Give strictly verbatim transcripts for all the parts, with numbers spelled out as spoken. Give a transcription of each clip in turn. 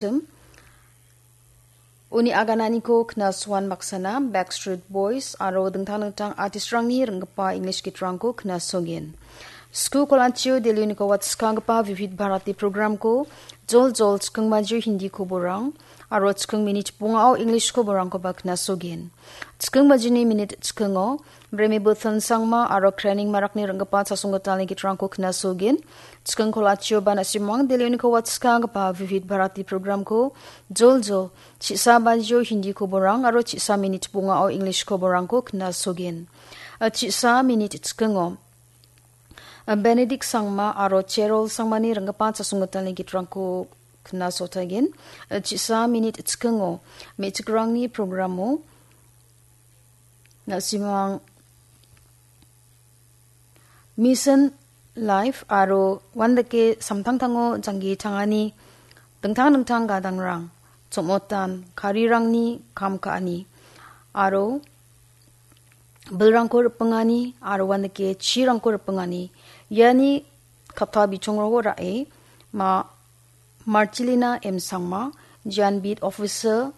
Uni agananiko knasoan baksana Backstreet Boys aro dingtang dingtang artistrangni ringgipa English gitrangko knasogen. Sku kolachio Delhi uniko watskanggipa Vivid Bharati programko jol jol chiking bajio Hindi koborang aro chiking minit bongao English koborangkoba knasogen. Chiking bajini minit chikingo Breme Buthan Sangma aro Krening Marakni ringgipa chasonggitalni gitrangko knasogen. Chiking kolachio ba na·simang Delhi uniko watskanggipa Vivid Bharati programko jol jol chi·sa bajio Hindi koborang aro chi·sa minit bongao English koborangko knasogen. Chi·sa minit chikingo Benedict Sangma aro Cherol Sangmani ringgipa chasonggitalni gitrangko knasotagen. Chi·sa minit chikingo me·chikrangni programo na·simang Mission Life aro uandake samtangtango janggi tangani dingtang dingtang gadangrang, chomotan, karirangni kam ka·ani aro bilrangko ripengani aro uandake chirangko ripengani. Iani kapta bichongrangko ra·e ma Marcelina M Sangma, Jan Beat Officer,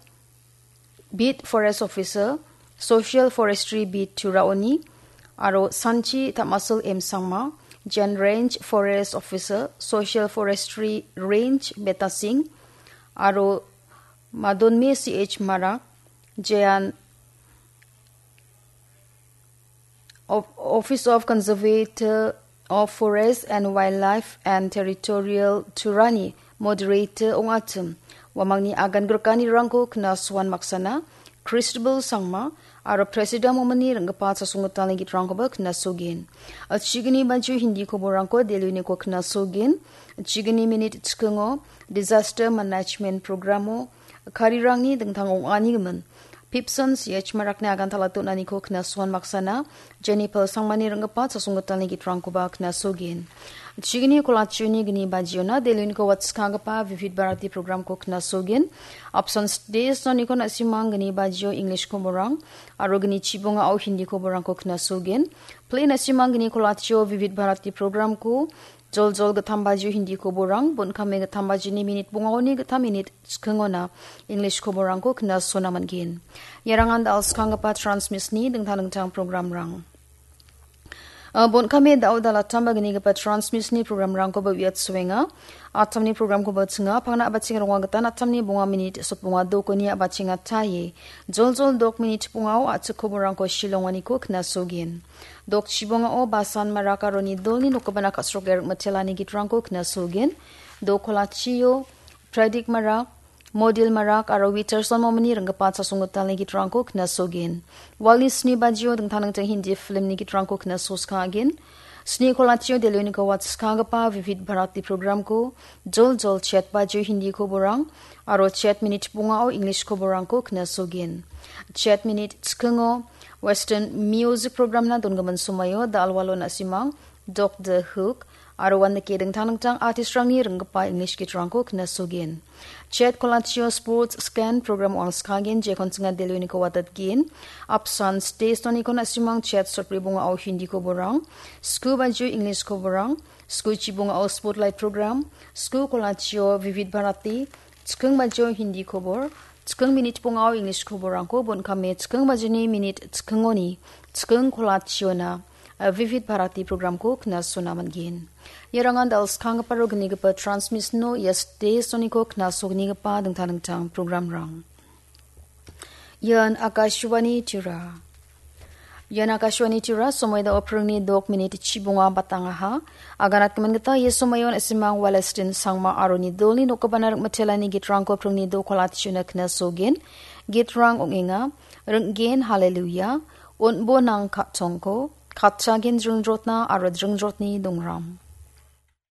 Beat Forest Officer, Social Forestry Beat Turaoni, aro Sanchi Tamasul M Sangma, Jan Range Forest Officer, Social Forestry Range Betasing, aro Madonme C H Marak, Jan Of-, Office of Conservator of Forest and Wildlife and Territorial Turani moderator ong·achim. Uamangni agan grikanirangko knasoan maksana Christabel Sangma aro President Momini ringgipa chasonggitalni gitrangkoba knasogen. Chigni baju Hindi koborangko Delhi uniko knasogen. Chigni minit chikingo Disaster Management Programo karirangni dingtang ong·ani gimin. Pipson C H Marakni agan talatonaniko knasoan maksana Jennifer Sangmani ringgipa chasonggitalni gitrangkoba knasogen. Chigni kolachioni gni bajiona Delhi uniko watskanggipa Vivid Bharati programko knasogen. Apsan stage noniko na·simang gni bajio English koborang aro gni chibongao Hindi koborangko knasogen. Play na·simang gni kolachio Vivid Bharati programko jol jol gittam bajio Hindi koborang, bon·kame gittam bajini minit bongaoni gittam minit chikingona English koborangko knasona man·gen. Iarangan da·alskanggipa transmisni dingtang dingtang programrang. Ah, bon·kame da·o dalattamba gnigipa transmisni programrangkoba uiatsoenga. Attamni programkoba chinga, pangna a·bacheng ronga gitan attamni bonga minit sotbonga dokoni a·bachenga taie. Jol jol dok minit bongao a·chik koborangko shilonganiko knasogen. Dok chibongao Basan Marak aro Nidolni nokgipana ka·sroke rikmitelani gitrangko knasogen. Dok kolachio Pradik Marak, Modil Marak aro Witerson Momini ringgipa chasonggitalni gitrangko knasogen. Walni sni bajio dingtang dingtang Hindi filmni gitrangko knasoskagen. Sni kolachio Delhi uniko watskanggipa Vivid Bharati programko jol jol chet bajio Hindi koborang aro chet minit bongao English koborangko knasogen. Chet minit chikingo Western Music Programna dongimin somoio da·alwalo na·simang Dok The Hook aro uandake dingtang dingtang artistrangni ringgipa English gitrangko knasogen. Chet kolachio Sports Scan program ong·angskagen jekon chinga Delhi uniko watatgen. Apsan stage noniko na·simang chet sotbri bongao Hindi koborang, sku bajio English koborang, sku chibongao Spotlight program, sku kolachio Vivid Bharati, chiking bajio Hindi kobor, chiking minit bongao English koborangko bon·kame chiking bajini minit chikingoni chiking kolachiona, eh, Vivid Bharati programko knasona man·gen. Iarangan da·alskanggipa aro gnigipa transmisno ia stage noniko knasognigipa dingtang dingtang programrang. Ian Akashvani Tirupur. Ian Akashvani Tirupur, somoi da·o pringni dok minit chibonga batangaha. Aganatgimin gita ia somoion na·simang Walestin Sangma aro Nidolni nokgipana rikmitelani gitrangko pringni dok kolachio knasogen. Gitrang ong·enga, Ring·gen Haleluya, Un·bo nang ka·tongko, Katchagen Dringrotna aro Dringrotni Dongram.